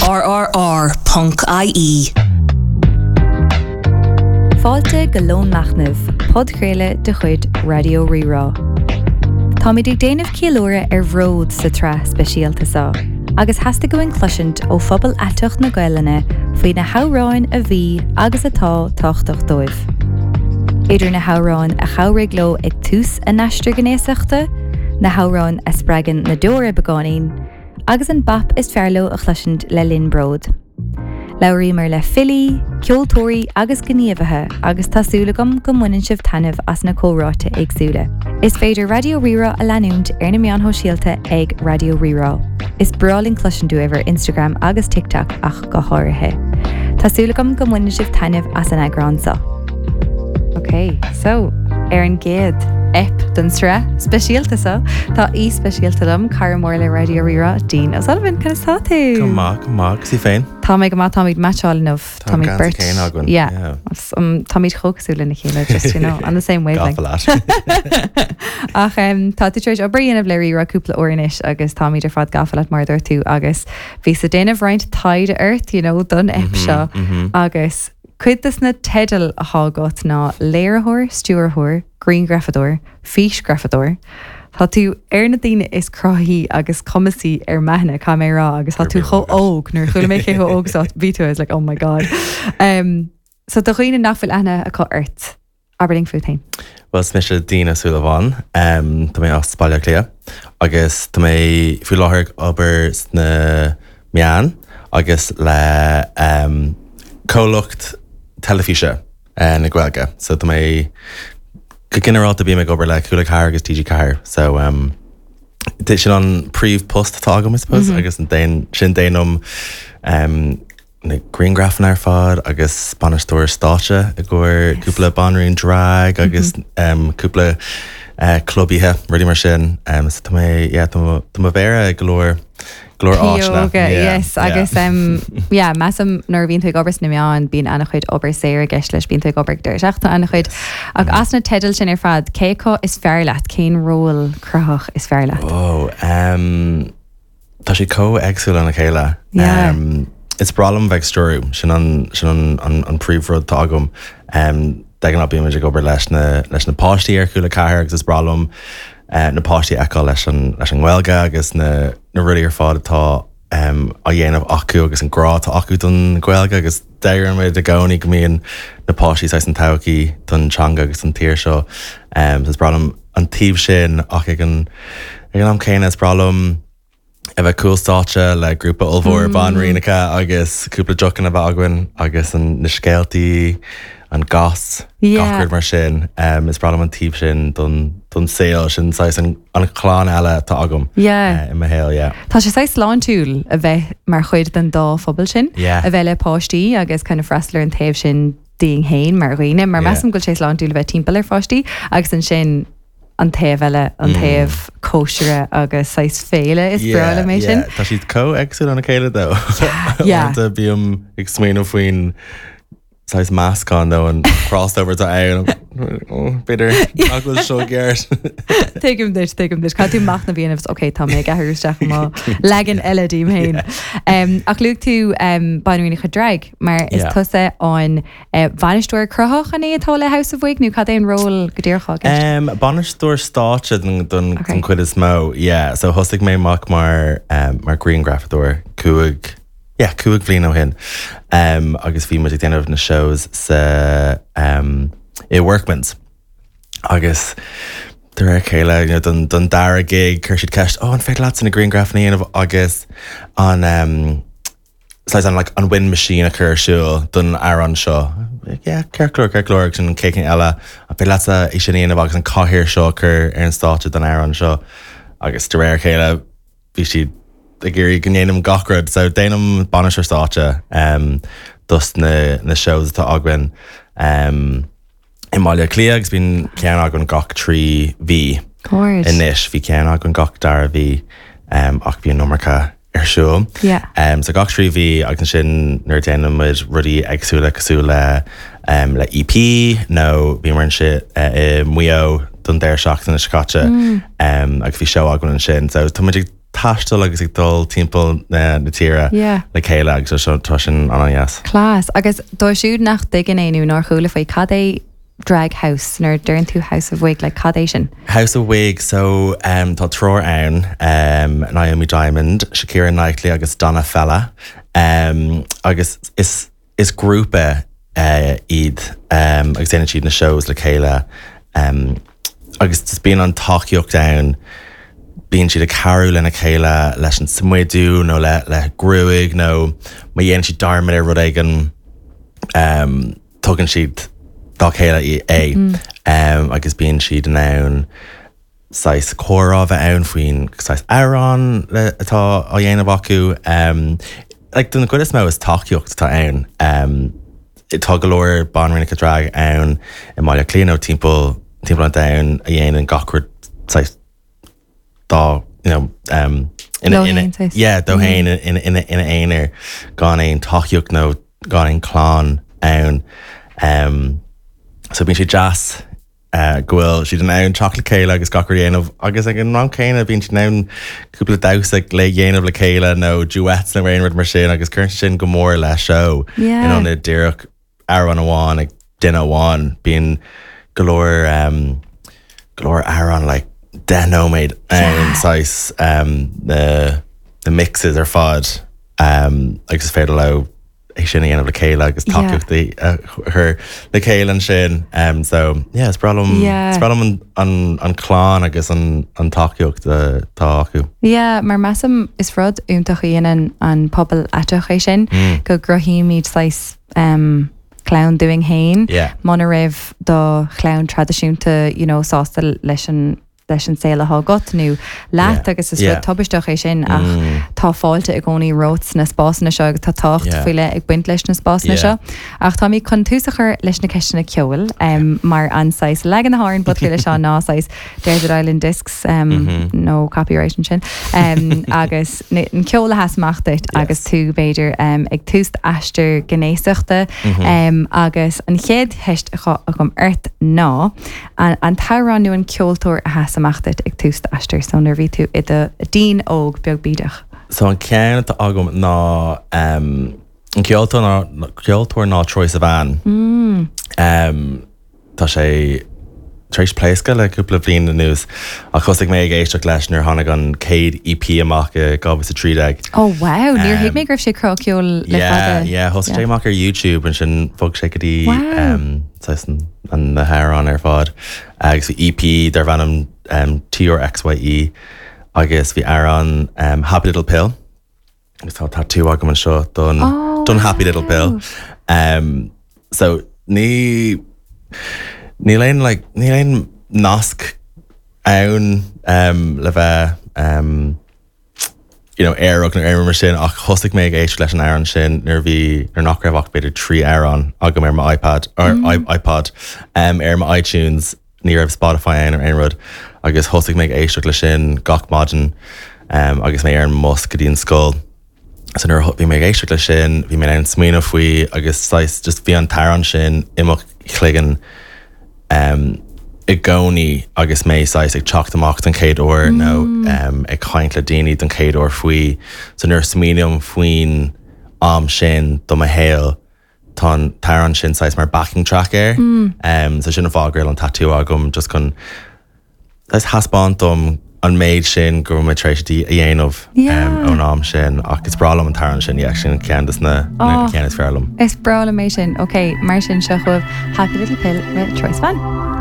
RRR ponc IE. Fáilte go Lón Machnaimh, podchraoladh de chuid Raidió Rí-Rá. Táimid ag déanamh ceiliúradh ar bhród sa tsraith speisialta seo, agus theastaigh uainn cloisint ó phobal aiteach na Gaelainne faoi na hamhráin a bhí agus atá tábhachtach dóibh. Idir na hamhráin a chabhraigh leo ag tús a n-aistear gnéasachta, na hamhráin a spreagann na deora beagáinín, agus an bap is fearr leo a chloisint le linn bród. Labhraíomar le filí, ceoltóirí agus gníomhaithe agus tá súil agam go mbaineann sibh taitneamh as na comhráite éagsúla. Is féidir Raidió Rí-Rá a leanúint ar na meáin shóisialta ag Raidió Rí-Rá. Is breá linn cloisint uaibh ar Instagram agus TikTok ach go háirithe. Tá súil agam go mbaineann sibh taitneamh as an eagrán seo. Ok, so, ar an gcéad ep den sraith speisialta seo, tá aoi speisialta liom, cara mór le Raidió Rí-Rá, Dean O'Sullivan, conas tá tú? Go maith, go maith, agus tú féin? Tá mé go maith, táimid meaitseáil inniu. Tá an geansaí céanna againn. Yeah. Yeah. Táimid chomh cosúil lena chéile, just, you know, on the same wavelength. Gafa leat. Ach um, tá tú tar éis obair a dhéanamh le Rí-Rá cúpla uair anois agus táimid ar fad gafa leat mar a dúirt tú agus Bhíos ag déanamh roinnt taighde ort, you know, don ep seo agus cuid des na teidil atá agat ná léiritheoir, stiúrthóir, grianghrafadóir, físghrafadóir. Tá tú ar na daoine is cruthaithí agus cumasaí ar m'aithne, caithfidh mé a rá, agus tá tú chomh óg, nuair a chuala mé cé chomh óg is a bhí tú, I was like, oh my God. Um, so do dhaoine nach bhfuil aithne acu ort, Abair linn fút féin. Bhuel, is mise Dean Ó Súilleabháin. Tá mé as Baile Átha Cliath agus tá mé faoi láthair ag obair sna meáin agus le comhlacht teilifíse na Gaeilge. So tá mé, go ginearálta bím ag obair le Cúla 4 agus TG4. So sin an príomhpost atá agam, I suppose, agus sin déanaim na grianghrafanna ar fad agus bainisteoir stáitse i gcomhair cúpla banríon drag agus cúpla club oíche, rudaí mar sin. So tá mé, yeah, tá mo mhéara i go leor, go leor áiteanna. Pióga, yes, agus yeah, measaim nuair a bhíonn tú ag obair sna meáin, bíonn an-chuid obair saor i gceist leis, bíonn tú ag obair ag deireadh seachtaine an-chuid. Ach as na teidil sin ar fad, cé acu is fearr leat, cén ról cruthaitheach is fearr leat? Oh, um. Tá siad chomh éagsúil lena chéile. Yeah. Is breá liom bheith ag stiúradh, sin an, sin an, an, an príomhrud atá agam. De ghnáth bímid ag obair leis na, leis na páistí ar Cúla 4 agus is breá liom na páistí a fheiceáil leis an, leis an nGaeilge agus na, na rudaí ar fad atá á dhéanamh acu agus an grá atá acu don Ghaeilge agus deirimid i gcónaí go mbíonn na páistí saghas an todhchaí don teanga agus don tír seo. So is breá liom an taobh sin ach ag an ag an am céanna is breá liom a bheith cúl stáitse le grúpa ollmhór banríonacha agus cúpla deochanna a bheith againn agus an na scéaltaí, an gas, gach rud mar sin. Is breá liom an taobh sin don don saol, sin saghas an an chlann eile atá agam Yeah. i mo shaol, yeah. Tá sé saghas sláintiúil a bheith mar chuid den dá phobal sin, Yeah. a bheith le páistí agus kind of freastal ar an taobh sin dínn féin mar dhaoine, mar measaim go bhfuil sé sláintiúil a bheith timpeall ar pháistí agus ansin an taobh eile, an taobh cóisire agus saghas féile, is breá liom é sin. Tá siad chomh éagsúil óna chéile though. Uaireanta bím ag smaoineamh faoin saghas meascán nó an crossover atá ann. B'fhéidir nach bhfuil seo ceart. Tuigim duit, tuigim duit. Caithfidh tú machnamh a dhéanamh, ok, tá mé ag athrú isteach i mo leagan eile díom féin. Ach luaigh tú banríonacha drag. Mar is tusa an bainisteoir cruthaitheach an é atá le House of Wig nó cad é an ról go díreach atá i gceist? Bainisteoir stáitse don chuid is mó, yeah. So thosaigh mé amach mar mar grianghrafadóir cúig, yeah, cúig bhliain ó shin. Agus bhí muid ag déanamh na shows sa i Workman's. Agus de réir a chéile, you know, don don dara gig chuir siad ceist, oh an féidir leatsa na grianghrafanna a dhéanamh agus an saghas an like an wind machine a chur ar siúl don amhrán seo. Like, yeah, ceart go leor, ceart go leor agus an chéad cheann eile, an féidir leatsa é sin a dhéanamh agus an cathaoir seo a chur ar an stáitse don amhrán seo. Agus de réir a chéile bhí siad ag iarraidh go ndéanaim gach rud. So déanaim bainisteoir stáitse um, dos na, na shows atá againn. Um, i mBaile Átha Cliath agus bíonn ceann againn gach 3 mhí anois. Bhí ceann againn gach dara mhí ach bhí an iomarca ar siúl. So gach 3 mhí agus ansin nuair a déanann muid rudaí éagsúla cosúil le le EP nó bhíomar ansin i Maigh Eo don deireadh seachtaine seo caite agus bhí seó againn ansin. So tá muid ag. taisteal agus ag dul timpeall na tíre le chéile agus tá sin an-dheas. Class. Agus dóibh siúd nach dtuigeann é nó nár chuala faoi, cad é drag house? Nuair a deireann tú house of wig, like cad é sin? House of Wig, so tá triúr ann, Naomi Diamond, Shakira Knightley agus Donna Fella agus is Is grúpa iad agus déanann siad na shows le chéile agus just bíonn an tacaíocht ann, bíonn siad ag cabhrú lena chéile leis an smidiú nó le le gruaig nó má dhéanann siad dearmad ar rud éigin tugann siad dá chéile é agus bíonn siad in ann saghas comhrá a bheith ann faoin saghas amhrán atá á dhéanamh acu. Like den chuid is mó is tacaíocht atá ann. Tá go leor banríonacha drag ann i mBaile Átha Cliath nó timpeall timpeall an domhain a dhéanann gach rud saghas dá you know ina ina yeah dó féin ina ina ina aonar gan aon tacaíocht nó gan aon clann ann. So bíonn sé deas go bhfuil siad in ann teacht le chéile agus gach rud a dhéanamh agus ag an am céanna bíonn siad in ann cúpla damhsa le dhéanamh le chéile nó duets nó aon rud mar sin agus cuireann sin go mór le seó in ionad díreach amhrán amháin ag duine amháin. Bíonn go leor um, go leor amhrán like 10 nóiméad ann saghas um, na, na mixes ar fad um, agus is féidir leo é sin a dhéanamh le chéile agus tacaíocht a chur le chéile ansin. Um, so yeah, is breá liom yeah. is breá liom an, an, an clann agus an, an tacaíocht atá acu. Yeah, mar measaim is rud iontach a dhéanann an pobal aiteach é sin mm. go gcruthaímid saghas um, clann dúinn féin yeah. muna raibh do chlann traidisiúnta you know, sásta leis an leis an saol atá agat nó leat agus is rud tubaisteach é sin ach tá fáilte i gcónaí romhat sna spásanna seo agus tá tábhacht faoi leith ag baint leis na spásanna seo. Ach táimid chun tús a chur leis na ceisteanna ceoil mar an saghas leagan na hÉireann podchraoladh seo ná saghas Desert Island Discs no copyright ansin agus an ceol a sheas amach duit agus tú b'fhéidir ag tús d'aistear gnéasachta agus an chéad cheist atá agam ort ná An t-amhrán nó an ceoltóir a sheas amach duit ag tús d'aistir, so nuair a bhí tú i do deen óg beag bídeach? So an ceann atá agam ná an ceoltóir ná ceoltóir ná Troye Sivan. Tá sé tar éis pléascadh le cúpla bliain anuas ach thosaigh mé ag éisteacht leis nuair a tháinig an chéad EP amach i 2013. Oh wow, níor thuig mé go raibh sé ag cruthú ceoil le fada. Yeah, yeah, thosaigh sé amach ar YouTube ansin bhog sé go dtí saghas na hamhráin ar fad agus bhí EP darb ainm TRXYE agus bhí amhrán Happy Little Pill agus tá tatú agam anseo don don Happy Little Pill. So ní níl aon like níl aon nasc ann le bheith you know, aerach nó aon rud mar sin ach thosaigh mé ag éisteacht leis an amhrán sin nuair a bhí, nuair nach raibh ach b'fhéidir 3 amhrán agam ar mo iPad, or iPod, ar mo iTunes, ní raibh Spotify ann ar aon rud agus thosaigh mé ag éisteacht leis sin gach maidin agus mé ar an mbus go dtí an scoil. So nuair a bhí mé ag éisteacht leis sin, bhí mé in ann smaoineamh faoi agus saghas just bhí an t-amhrán sin i mo chloigeann i gcónaí agus mé saghas ag teacht amach don chéad uair nó ag caint le daoine don chéad uair faoi. So nuair a smaoiním faoin am sin do mo shaol, tá an t-amhrán sin saghas mar backing track air. So sin an fáth go bhfuil an tatú agam just chun saghas thaispeáint dom an méid sin go raibh mé tar éis a dhéanamh ón am sin ach is breá liom an t-amhrán sin, yeah, sin ceann de na cinn is fearr liom. Is breá liom é sin. Ok, mar sin seo chugaibh Happy Little Pill le Troye Sivan.